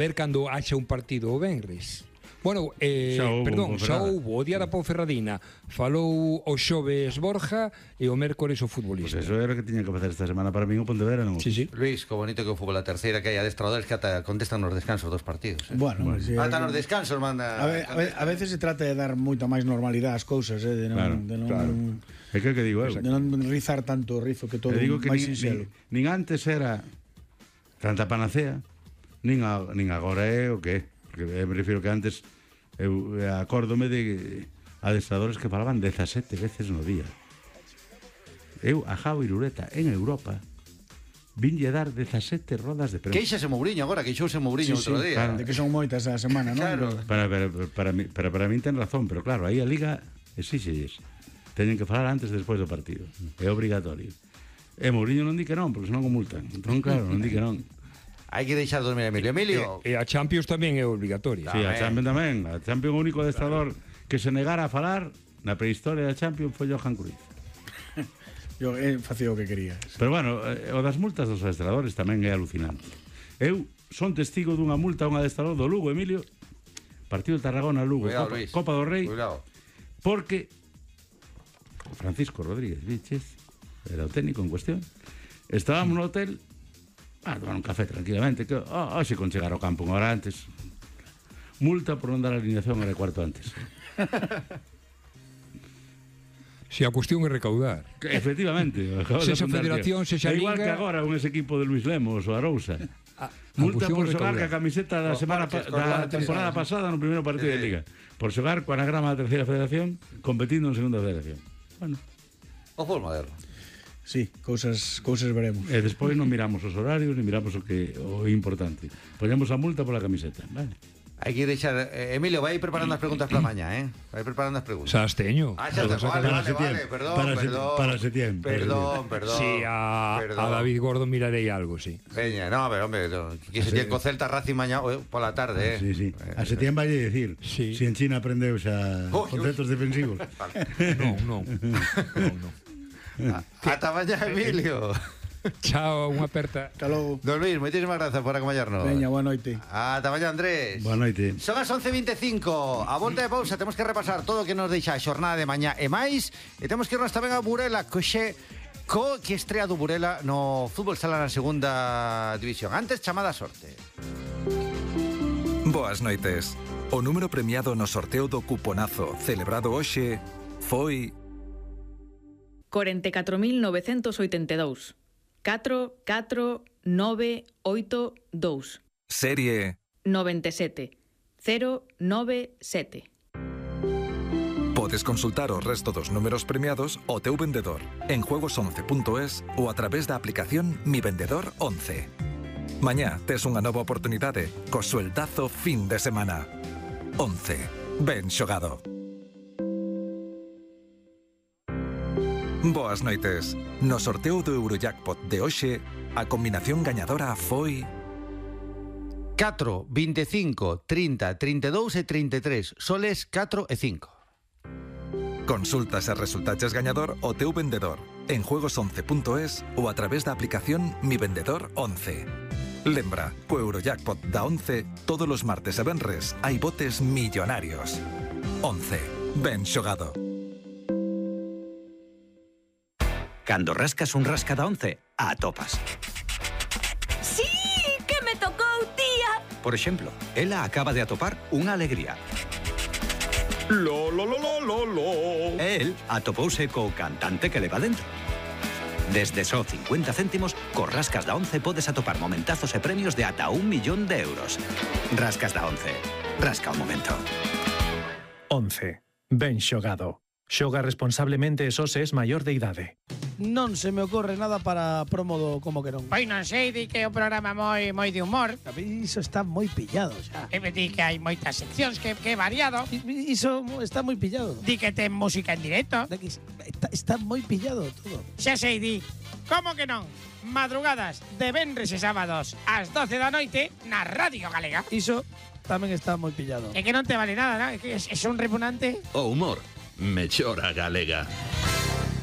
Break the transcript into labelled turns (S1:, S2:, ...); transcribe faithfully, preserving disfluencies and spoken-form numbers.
S1: ver cando haxa un partido o venres. Bueno, eh,
S2: xa houbo,
S1: perdón, xa houbo o día da Ponferradina. Falou o xoves Borja e o mércores o futbolista.
S2: Pois pues eso era o que tiña que facer esta semana para min o Pontevedra, non?
S1: Sí, sí.
S3: Luis, que bonito que o fútbol a terceira, que hai adestradores que ata contestan nos descansos dos partidos. Eh?
S4: Bueno, bueno. Si
S3: ata nos descansos manda...
S4: A, ve, a, ve, a veces se trata de dar moita máis normalidade ás cousas, eh, de non,
S2: Claro,
S4: de non,
S2: claro. É que que digo eu.
S4: de non rizar tanto o rizo que todo
S2: Te digo que
S4: máis
S2: nin,
S4: sinxelo.
S2: nin, nin antes era tanta panacea, nin, a, nin agora é o que é. Porque me refiro que antes eu acórdome de adestradores que falaban dezasete veces no día. Eu a Jao Irureta en Europa vinlle dar dezasete rodas de prensa.
S3: Queixase Mourinho agora, queixouse Mourinho
S4: Sí,
S3: outro
S4: sí,
S3: día.
S4: claro, de que son moitas a semana, non?
S3: Claro.
S2: Para, para, para, mí, para, para min ten razón, pero claro, aí a Liga exíxelles. Teñen que falar antes e despois do partido. É obrigatorio. E Mourinho non di que non, porque senón o multan. Entón, claro, non di que non.
S3: Hai que deixar dormir a Emilio. Emilio...
S1: E, e a Champions tamén é obligatoria.
S2: Sí, a Champions tamén. A Champions, o único adestrador que se negara a falar na prehistoria da Champions foi Johan Cruyff.
S4: Yo eh, facía o que quería.
S2: Pero bueno, eh, o das multas dos adestradores tamén é alucinante. Eu son testigo dunha multa a un adestrador do Lugo, Emilio, partido de Tarragona-Lugo,
S3: Cuidado,
S2: Copa,
S3: Luis.
S2: Copa do Rei,
S3: Cuidado.
S2: porque Francisco Rodríguez Viches era o técnico en cuestión. Estábamos no hotel a tomar un café tranquilamente, que oh, hoxe con chegar ao campo unha hora antes. Multa por non dar a alineación hora e cuarto antes.
S1: Se a cuestión é recaudar.
S2: Que, efectivamente.
S1: Se esa federación, se xa
S2: igual
S1: liga...
S2: que agora un ese equipo de Luis Lemos ou Arousa.
S1: A, a
S2: Multa
S1: cuestión
S2: por
S1: é
S2: xogar
S1: recaudar.
S2: ca camiseta da
S3: Os
S2: semana
S3: parches,
S2: pa,
S3: con
S2: da
S3: la
S2: temporada
S3: tercera.
S2: pasada no primeiro partido de Liga. Por xogar co anagrama da terceira federación competindo en segunda federación. Bueno,
S3: O fútbol moderno.
S4: Sí, cousas cousas veremos.
S2: e despois non miramos os horarios, ni miramos o que o importante. Poñemos a multa pola camiseta, vale?
S3: Hai que deixar... Eh, Emilio, vai preparando as preguntas para mañá, eh? Vai preparando as preguntas.
S1: Xa as teño.
S3: Ah, xa te... Vale,
S2: Para
S3: vale,
S2: septiembre.
S3: vale. Perdón,
S2: Para se-
S3: perdón.
S2: para septiembre.
S3: Perdón, perdón.
S1: Sí, a,
S3: perdón.
S1: a David Gordo mirarei algo, sí.
S3: Veña, no, pero hombre, no, que se tiene co Celta Racing mañá eh, pola tarde, eh.
S2: Sí, sí. A septiembre vai decir,
S1: Sí.
S2: si en China aprendeu xa
S3: Uy,
S2: conceptos defensivos.
S1: Non, non. non, non.
S3: Ata mañá, Emilio.
S1: Chao, unha aperta.
S4: Hasta logo.
S3: Don Luis, moitísimas grazas por acompañarnos.
S4: Veña, boa noite.
S3: Ata mañá, Andrés.
S2: Boa noite.
S3: Son as once e veinticinco. A volta de pausa temos que repasar todo o que nos deixa a xornada de mañá e máis. E temos que irnos tamén a Burela, coxe co que estrea do Burela no fútbol sala na segunda división. Antes, chamada a sorte.
S5: Boas noites. O número premiado no sorteo do cuponazo celebrado hoxe foi
S6: corenta e catro mil novecentos oitenta e dous. catro, catro, nove, oito, dous.
S5: serie
S6: noventa e sete. cero, nove, sete.
S5: Podes consultar o resto dos números premiados ao teu vendedor en juegos once punto es ou a través da aplicación Mi Vendedor once. Mañá tes unha nova oportunidade co sueldazo fin de semana. once. Ben xogado. Boas noites. No sorteo do Eurojackpot de hoxe, a combinación gañadora foi
S3: catro, veinticinco, trinta, trinta e dous e trinta e tres. Soles catro e cinco.
S5: Consulta se resultaches gañador o teu vendedor en juegos once punto es ou a través da aplicación Mi Vendedor once. Lembra, co Eurojackpot da once, todos os martes e venres hai botes millonarios. once. Ben xogado.
S7: Cando rascas un rasca da once, atopas.
S8: ¡Sí! ¡Que me tocou, tía!
S7: Por exemplo, ela acaba de atopar unha alegría.
S5: Lo, lo, lo, lo, lo, lo.
S7: E el atopouse co cantante que leva dentro. Desde só cincuenta céntimos, co rascas da once podes atopar momentazos e premios de ata un millón de euros. Rascas da once. Rasca o momento.
S9: once. Ben xogado. Xoga responsablemente e só se es maior de idade.
S10: Non se me ocorre nada para promo do como que non.
S11: Pois non sei, di que é un programa moi moi de humor.
S10: A mí iso está moi pillado xa.
S11: E me di que hai moitas seccións, que, que é variado.
S10: I- Iso está moi pillado.
S11: Di que ten música en directo.
S10: De que Está, está moi pillado todo.
S11: Xa sei, di. Como que non? Madrugadas de venres e sábados ás doce da noite na Radio Galega.
S10: Iso tamén está moi pillado.
S11: É que non te vale nada, non? É que é, é un repugnante.
S12: O humor, mellora galega.